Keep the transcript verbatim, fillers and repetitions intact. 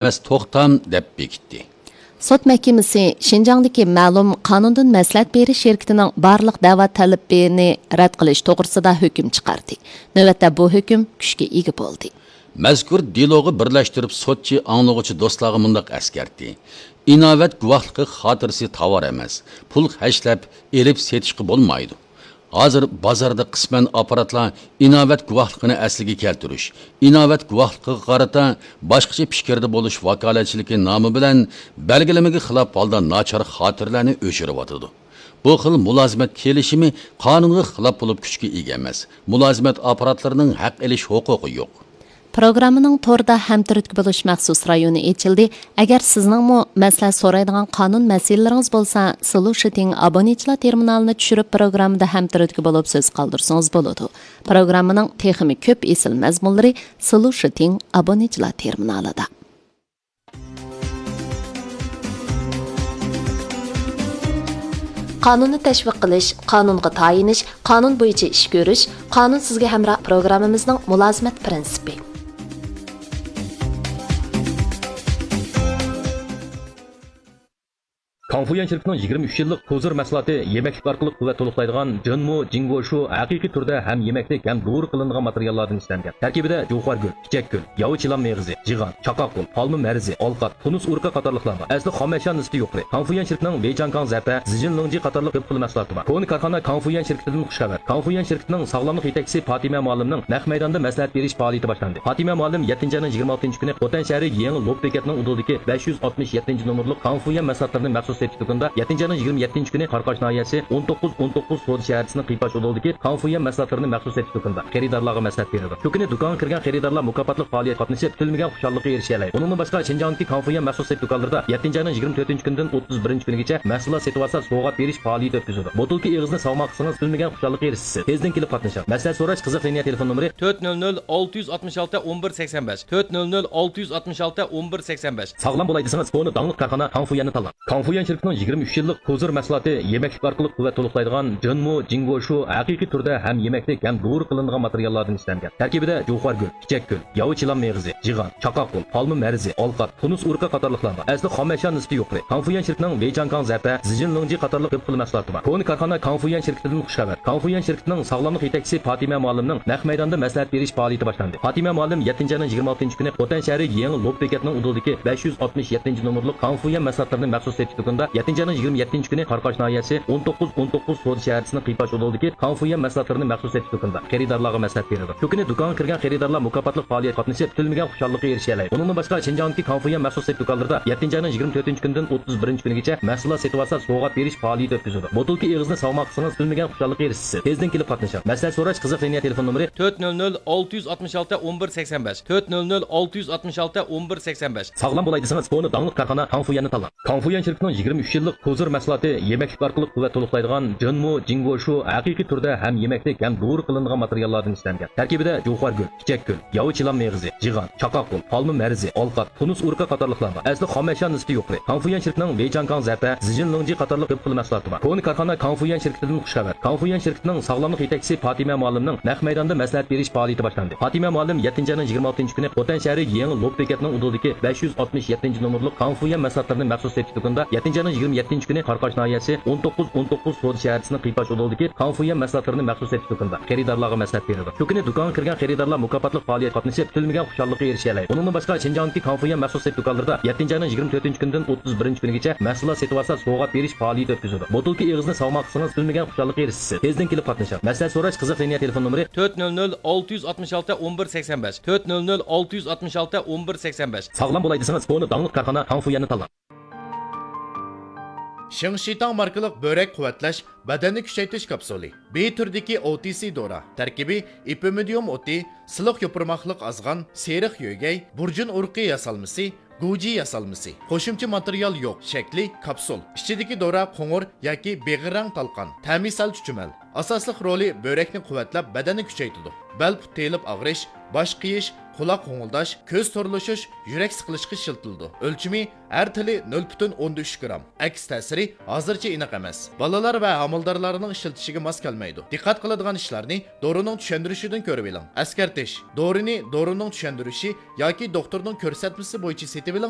ئەمەس توختام دەپ بېكىتتى. سوت مەھكىمىسى شىنجاڭدىكى مەلۇم قانۇندىن مەسلىھەت بېرىش شىركىتىنىڭ بارلىق دەۋا تەلىپىنى رەت قىلىش توغرىسىدا ھۆكۈم چىقاردى. نۆۋەتتە بۇ ھۆكۈم كۈچكە ئىگە بولدى. مەزكۇر دېلوغا بىرلەشتۈرۈپ سوتچى ئاڭلىغۇچى دوستلارغا مۇنداق ئەسكەرتتى: ئىناۋەت گۇۋاھلىقى خاتىرىسى تاۋار ئەمەس، پۇل خەجلەپ ئېلىپ سېتىشقا بولمايدۇ. ھازىر بازاردا قىسمەن ئاپپاراتلار ئىناۋەت گۇۋاھلىقىنى ئەسلىگە كەلتۈرۈش، ئىناۋەت گۇۋاھلىقىغا قارىتا باشقىچە پىكىردە بولۇش ۋاكالەتچىلىكى نامى بىلەن بەلگىلىمىگە خىلاپ ھالدا ناچار خاتىرىلەرنى ئۆچۈرۈۋاتىدۇ. بۇ خىل مۇلازىمەت كېلىشىمى قانۇنغا خىلاپ بولۇپ كۈچكە ئىگە ئەمەس. مۇلازىمەت ئاپپاراتلىرىنىڭ ھەق ئېلىش ھوقۇقى يوق. پروگراممىنىڭ توردا ھەمتۈرتكە بولۇش مەخسۇس رايونى ئېچىلدى. ئەگەر سىزنىڭمۇ مەسلىھەت سورايدىغان قانۇن مەسىلىلىرىڭىز بولسا، سولۇشىتىڭ ئابونېنتلار تېرمىنالىنى چۈشۈرۈپ، پروگراممىدا ھەمتۈرتكە بولۇپ سۆز قالدۇرسىڭىز بولىدۇ. پروگراممىنىڭ تېخىمۇ كۆپ ئېسىل مەزمۇنلىرى سولۇشىتىڭ ئابونېنتلار تېرمىنالىدا. قانۇننى تەشۋىق قىلىش، قانۇنغا تايىنىش، قانۇن بويىچە ئىش كۆرۈش، قانۇن سىزگە ھەمراھ پروگراممىمىزنىڭ مۇلازىمەت پىرىنسىپى. كاڭفۇيۈەن شىركىتىنىڭ يىگىرمە ئۈچ يىللىق كوزىر مەھسۇلاتى يېمەكلىك ئارقىلىق قۇۋۋەت تولۇقلايدىغان جىنمۇ جىڭگوشۇ ھەقىقىي تۈردە ھەم يېمەكلىك، ھەم دورا قىلىنىدىغان ماتېرىياللاردىن ئىشلەنگەن. تەركىبىدە جۇۋخارگۈل، پىچەكگۈل، ياۋا چىلان مېغىزى، جىغان، چاقاقغۇل، پالما مەرىزى، ئالقات، تۇنۇس ئۇرۇقى قاتارلىقلار بار. ئەسلى خام ئەشيا نىسبىتى يۇقىرى. كاڭفۇيۈەن شىركىتىنىڭ ۋېيچاڭكاڭ زەپە، زىجىنلىڭجى قاتارلىق كۆپ خىل مەھسۇلاتى بار. كونا كارخانا كاڭفۇيۈەن شىركىتىدىن خۇش خەۋەر. كاڭفۇيۈەن شىركىتىنىڭ ساغلاملىق يېتەكچىسى پاتىمە مۇئەللىمنىڭ نەق مەيداندا مەسلىھەت بېرىش پائالىيىتى باشلاندى. پاتىمە مۇئەللىم يەتتىنچى ئاينىڭ يىگىرمە ئالتىنچى كۈنى خوتەن شەھىرى يېڭى لوپ بېكەتنىڭ ئۇدۇلىدىكى بەش يۈز ئاتمىش يەتتىنچى نومۇرلۇق كاڭفۇيۈەن مەھسۇلاتلىرىنى مەخسۇس سېتىش دۇكىنىدا، يەتتىنچى ئاينىڭ يىگىرمە يەتتىنچى كۈنى قاراقاش ناھىيەسى ئون توققۇز ئون توققۇز سودا شەھەرچىسىنىڭ قىيپاش ئۇدۇلىدىكى كاڭفۇيۈەن مەھسۇلاتلىرىنى مەخسۇس سېتىش دۇكىنىدا خېرىدارلارغا مەسلىھەت بېرىدۇ. شۇ كۈنى دۇكانغا كىرگەن خېرىدارلار مۇكاپاتلىق پائالىيەتكە قاتنىشىپ، كۈتۈلمىگەن خۇشاللىققا ئېرىشەلەيدۇ. ئۇنىڭدىن باشقا، شىنجاڭدىكى كاڭفۇيۈەن مەخسۇس سېتىش دۇكانلىرىدا يەتتىنچى ئاينىڭ يىگىرمە تۆتىنچى كۈنىدىن ئوتتۇز بىرىنچى كۈنىگىچە مەھسۇلات سېتىۋالسا، سوۋغات بېرىش پائالىيىتى ئۆتكۈزىدۇ. بوتۇلكا ئېغىزىنى ساغماقلىسىڭىز، كۈتۈلمىگەن خۇشاللىققا ئېرىشىسىز. تېزدىن كېلىپ قاتنىشىڭ. مەسلىھەت سوراش، قىزىق لىنىيە تېلېفون نومۇرى تۆت نۆل نۆل ئالتە يۈز ئاتمىش ئالتە ئون بىر سەكسەن بەش، تۆت نۆل نۆل ئالتە يۈز ئاتمىش ئالتە ئون بىر سەكسەن بەش. ساغلام بولاي دېسىڭىز، كونا داڭلىق كارخانا كاڭفۇيۈەننى تاللاڭ. كاڭفۇيۈەن شىركىتىنىڭ يىگىرمە ئۈچ يىللىق كوزىر مەھسۇلاتى يېمەكلىك ئارقىلىق قۇۋۋەت تولۇقلايدىغان جىنمۇ جىڭگوشۇ ھەقىقىي تۈردە ھەم يېمەكلىك، ھەم دورا قىلىنىدىغان ماتېرىياللاردىن ئىشلەنگەن. تەركىبىدە جۇۋخارگۈل، پىچەكگۈل، ياۋا چىلان مېغىزى، جىغان، چاقاقغۇل، پالما مەرىزى، ئالقات، تۇنۇس ئۇرۇقى قاتارلىقلار بار. ئەسلى خام ئەشيا نىسبىتى يۇقىرى. كاڭفۇيۈەن شىركىتىنىڭ ۋېيچاڭكاڭ زەپە، زىجىنلىڭجى قاتارلىق كۆپ خىل مەھسۇلاتى بار. كونا كارخانا كاڭفۇيۈەن شىركىتىدىن خۇش خەۋەر. كاڭفۇيۈەن شىركىتىنىڭ ساغلاملىق يېتەكچىسى پاتىمە مۇئەللىمنىڭ نەق مەيداندا مەسلىھەت بېرىش پائالىيىتى باشلاندى. پاتىمە مۇئەللىم يەتتىنچى ئاينىڭ يىگىرمە ئالتىنچى كۈنى خوتەن شەھىرى يېڭى لوپ بېكەتنىڭ ئۇدۇلىدىكى بەش يۈز ئاتمىش يەتتىنچى نومۇرلۇق كاڭفۇيۈەن مەھسۇلاتلىرىنى مەخسۇس سېتىش دۇكىنىدا، يەتتىنچى ئاينىڭ يىگىرمە يەتتىنچى كۈنى قاراقاش ناھىيەسى ئون توققۇز ئون توققۇز سودا شەھەرچىسىنىڭ قىيپاش ئۇدۇلىدىكى كاڭفۇيۈەن مەھسۇلاتلىرىنى مەخسۇس سېتىش دۇكىنىدا خېرىدارلارغا مەسلىھەت بېرىدۇ. شۇ كۈنى دۇكانغا كىرگەن خېرىدارلار مۇكاپاتلىق پائالىيەتكە قاتنىشىپ، كۈتۈلمىگەن خۇشاللىققا ئېرىشەلەيدۇ. ئۇنىڭدىن باشقا، شىنجاڭدىكى كاڭفۇيۈەن مەخسۇس سېتىش دۇكانلىرىدا يەتتىنچى ئاينىڭ يىگىرمە تۆتىنچى كۈنىدىن ئوتتۇز بىرىنچى كۈنىگىچە مەھسۇلات سېتىۋالسا، سوۋغات بېرىش پائالىيىتى ئۆتكۈزىدۇ. بوتۇلكا ئېغىزىنى ساغماقلىسىڭىز، كۈتۈلمىگەن خۇشاللىققا ئېرىشىسىز. تېزدىن كېلىپ قاتنىشىڭ. مەسلىھەت سوراش، قىزىق لىنىيە تېلېفون نومۇرى تۆت نۆل نۆل ئالتە يۈز ئاتمىش ئالتە ئون بىر سەكسەن بەش، تۆت نۆل نۆل ئالتە يۈز ئاتمىش ئالتە ئون بىر سەكسەن بەش. ساغلام بولاي دېسىڭىز، كونا داڭلىق كارخانا كاڭفۇيۈەننى تاللاڭ. كاڭفۇيۈەن شىركىتىنىڭ يىگىرمە ئۈچ يىللىق كوزىر مەھسۇلاتى يېمەكلىك ئارقىلىق قۇۋۋەت تولۇقلايدىغان جىنمۇ جىڭگوشۇ ھەقىقىي تۈردە ھەم يېمەكلىك، ھەم دورا قىلىنىدىغان ماتېرىياللاردىن ئىشلەنگەن. تەركىبىدە جۇۋخارگۈل، پىچەكگۈل، ياۋا چىلان مېغىزى، جىغان، چاقاقغۇل، پالما مەرىزى، ئالقات، تۇنۇس ئۇرۇقى قاتارلىقلار بار. ئەسلى خام ئەشيا نىسبىتى يۇقىرى. كاڭفۇيۈەن شىركىتىنىڭ ۋېيچاڭكاڭ زەپە، زىجىنلىڭجى قاتارلىق كۆپ خىل مەھسۇلاتى بار. كونا كارخانا كاڭفۇيۈەن شىركىتىدىن خۇش خەۋەر. كاڭفۇيۈەن شىركىتىنىڭ ساغلاملىق يېتەكچىسى پاتىمە مۇئەللىمنىڭ نەق مەيداندا مەسلىھەت بېرىش پائالىيىتى باشلاندى. پاتىمە مۇئەللىم يەتتىنچى ئاينىڭ يىگىرمە ئالتىنچى كۈنى خوتەن شەھىرى يېڭى لوپ بېكەتنىڭ ئۇدۇلىدىكى بەش يۈز ئاتمىش يەتتىنچى نومۇرلۇق كاڭفۇيۈەن مەھسۇلاتلىرىنى مەخسۇس سېتىش دۇكىنىدا، يەتتىنچى ئاينىڭ يىگىرمە يەتتىنچى كۈنى قاراقاش ناھىيەسى ئون توققۇز ئون توققۇز سودا شەھەرچىسىنىڭ قىيپاش ئۇدۇلىدىكى كاڭفۇيۈەن مەھسۇلاتلىرىنى مەخسۇس سېتىش دۇكىنىدا خېرىدارلارغا مەسلىھەت بېرىدۇ. شۇ كۈنى دۇكانغا كىرگەن خېرىدارلار مۇكاپاتلىق پائالىيەتكە قاتنىشىپ، كۈتۈلمىگەن خۇشاللىققا ئېرىشەلەيدۇ. ئۇنىڭدىن باشقا، شىنجاڭدىكى كاڭفۇيۈەن مەخسۇس سېتىش دۇكانلىرىدا يەتتىنچى ئاينىڭ يىگىرمە تۆتىنچى كۈنىدىن ئوتتۇز بىرىنچى كۈنىگىچە مەھسۇلات سېتىۋالسا، سوۋغات بېرىش پائالىيىتى ئۆتكۈزىدۇ. بوتۇلكا ئېغىزىنى ساغماقلىسىڭىز، كۈتۈلمىگەن خۇشاللىققا ئېرىشىسىز. تېزدىن كېلىپ قاتنىشىڭ. مەسلىھەت سوراش، قىزىق لىنىيە تېلېفون نومۇرى تۆت نۆل نۆل ئالتە يۈز ئاتمىش ئالتە ئون بىر سەكسەن بەش، تۆت نۆل نۆل ئالتە يۈز ئاتمىش ئالتە ئون بىر سەكسەن بەش. ساغلام بولاي دېسىڭىز، كونا داڭلىق كارخانا كاڭفۇيۈەننى تاللاڭ. شېڭشىتاڭ ماركىلىق بۆرەك قۇۋۋەتلەش، بەدەننى كۈچەيتىش كاپسۇلى. بى تۈرىدىكى ئو تى سى دورا. تەركىبى ئېپىمىدىيۇم ئوتى، سىلىق يوپۇرماقلىق ئازغان، سېرىق يۆگەي، بۇرجۇن ئۇرۇقى ياسالمىسى، گۇجى ياسالمىسى. قوشۇمچە ماتېرىيال يوق. شەكلى كاپسۇل. ئىچىدىكى دورا قوڭۇر ياكى بېغىر رەڭ تالقان. تەمى سەل چۈچۈمەل. ئاساسلىق رولى بۆرەكنى قۇۋۋەتلەپ، بەدەننى كۈچەيتىدۇ. بەل پۇت تېيىلىپ ئاغرىش، باش قېيىش، قۇلاق غوڭۇلداش، كۆز تورلىشىش، يۈرەك سىقىلىشقا ئىشلىتىلىدۇ. ئۆلچىمى ھەر تىلى نۆل پۈتۈن ئوندىن ئۈچ گرام. ئەكس تەسىرى ھازىرچە ئېنىق ئەمەس. بالىلار ۋە ھامىلىدارلارنىڭ ئىشلىتىشىگە ماس كەلمەيدۇ. دىققەت قىلىدىغان ئىشلارنى دورىنىڭ چۈشەندۈرۈشىدىن كۆرۈۋېلىڭ. ئەسكەرتىش: دورىنى دورىنىڭ چۈشەندۈرۈشى ياكى دوختۇرنىڭ كۆرسەتمىسى بويىچە سېتىۋېلىڭ